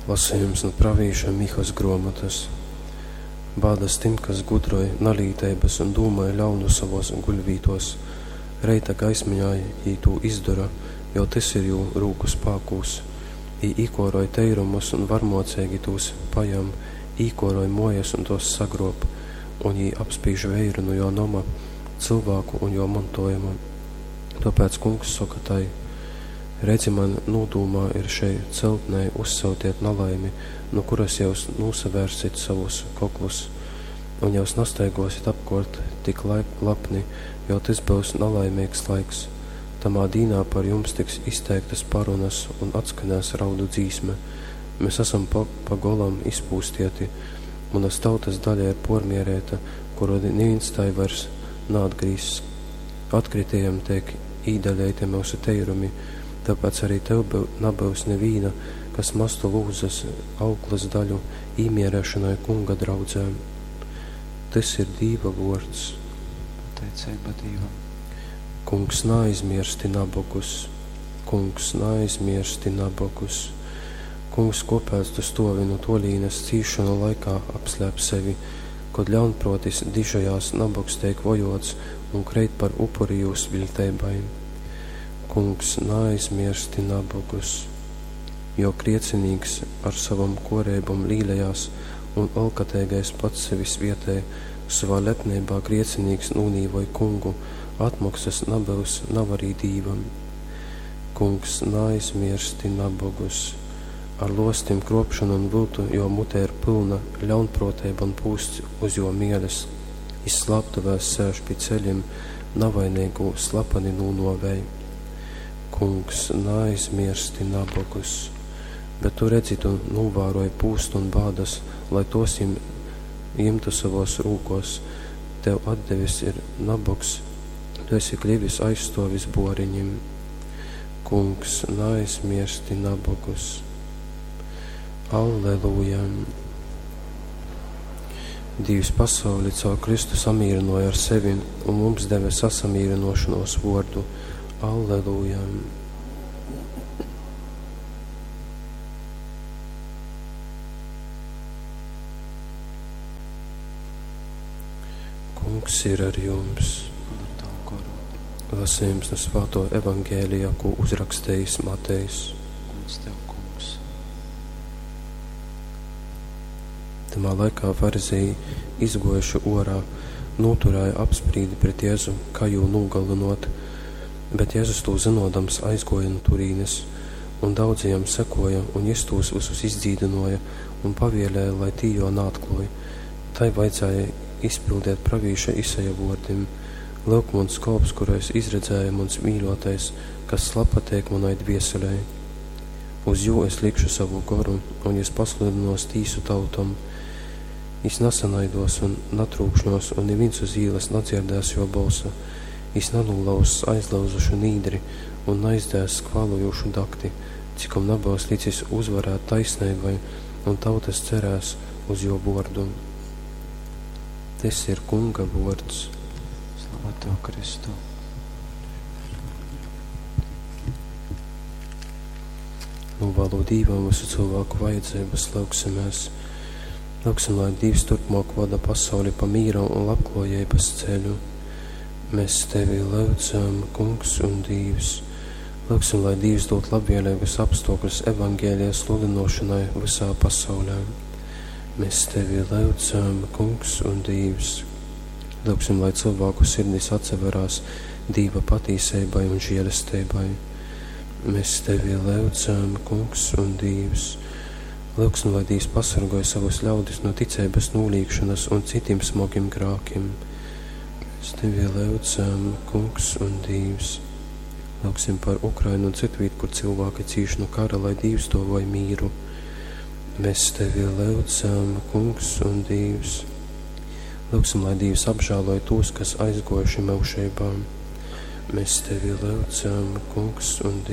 Lasejums nu pravīša Mihas gruomotys. Bādas tim, kas gudroj nalīteibys un dūmoj ļaunu sovuos guļvītuos! Reita gaismeņā jī tū izdora, jo tys ir jū rūku spākūs. Jī īkuoroj teirumus un varmuoceigi tūs pajam, īkuoroj muojas un tuos sagruob, un jī apspīž veiru nu juo noma, cylvāku un juo montuojuma. Tuopēc Kungs soka tai, Redzi, man nūdūmā ir šei celtnei uzsyutiet nalaimi, nu kuras jyus nūsavērsit sovus koklus, un jyus nastaiguosit apkuort tik lapni, jo tys byus nalaimeigs laiks. Tamā dīnā par jums tiks izteiktys parunys un atskanēs raudu dzīsme, Mes asam pa, pa golam izpūstieti, munas tautas daļa ir puormiereita, kuru nivīns tai vairs naatgrīzs. Atkritējam teik īdaleiti myusu teirumi, tāpēc arī tev nabyus nivīna, kas mastu lūzes auklys daļu īmierēšonai Kunga draudzē. Tys ir Dīva vuords. Pateiceiba Dīvam. Kungs, naaizmiersti nabogus! Kungs, naaizmiersti nabogus! Kungs, kuopēc tu stuovi nu tuolīnes cīšonu laikā apslēp sevi, kod ļaunpruotis dižojās, nabogs teik vojuots un kreit par upuri jūs viļteibai? Kungs, naaizmiersti nabogus! Jo griecinīks ar sovom kuoreibom līlejās un olkateigais pats sevi svietej, sovā lepneibā griecinīks nūnīvoj Kungu, atmoksys nabyus, nav arī Dīvam. Kungs, naaizmiersti nabogus! Ar luostim, kruopšonu un vyltu juo mute ir pylna, ļaunpruoteiba un pūsts uz juo mieles. Jis slāptuvēs sēž pi ceļim, navaineigū slapani nūnuovej. Kungs, naaizmiersti nabogus! Bet tu redzi, tu nūvāroj pūstu un bādas, lai tuos jim jimtu sovuos rūkuos. Tev atdevis ir nabogs, tu esi klivis aizstuovis buoriņim. Kungs, naaizmiersti nabogus! Alleluja! Dīvs pasauli caur Kristu samīrynuoja ar sevi un mums deve sasamīrynuošonuos vuordu. Alleluja! Kungs ir ar jums! Un ar tavu goru. Lasījums no Svāto Evangēlija, ko uzrakstījis Matejs. Gods tev, Kungs. Tamā laikā farizeji, izguojuši uorā, noturēja apsprīdi pret Jēzu, kā jū nūgalynot. Bet Jēzus tū zynodams aizguoja nu turīnes, un daudzi jam sekoja, un jis tūs vysus izdzīdynuoja un pavielēja, lai tī juo naatklōj. Tai vajadzēja izpildiet pravīša Isaja vuordim: Lyuk, muns kolps, kuru es izredzēju, muns mīļuotais, kas labpateik munai dvieselei. Uz jū es likšu savu goru, un jis pasludynuos tīsu tautom. Jis nasanaiduos un natrūkšņuos, un nivīns uz īlys nadzierdēs juo bolsa. Jis nanūlauzs aizlauzušu nīdri un naizdzēss kvālojūšu dakti, cikom nabyus licis uzvarēt taisneibai, un tautys cerēs uz juo vuordu. Tys ir Kunga vuords. Slava tev, Kristu. Nūvālu Dīvam visu cilvēku vajadzības, lūgsimies. Lūgsim, lai Dīvs turpmāk vada pasauli pa mīra un labklājības ceļu. Mēs tevi lūdzam, Kungs un Dīvs. Lūgsim, lai Dīvs dod labvēlīgus apstākļus evaņģēlija sludinošanai visā pasaulē. Mēs tevi lūdzam, Kungs un Dīvs. Lūgsim, lai cilvēku sirdis atsaverās Dīva patīseibai un žēlestībai. Mēs tevi lūdzam, Kungs un Dīvs. Lūgsim, lai Dīvs pasargoj savus ļaudis no ticeibas nūlīgšanas un citim smogim grākim. Mēs tevi lūdzam, Kungs un Dīvs. Lūgsim par Ukrainu un citvīt, kur cilvēki cīš no kara, lai Dīvs dovoj mīru. Mēs tevi lūdzam, Kungs un Dīvs. Lūgsim, lai Dīvs apžēloj tos, kas aizguojuši myužeibā. Mēs tevi lūdzam, Kungs un Dīvs.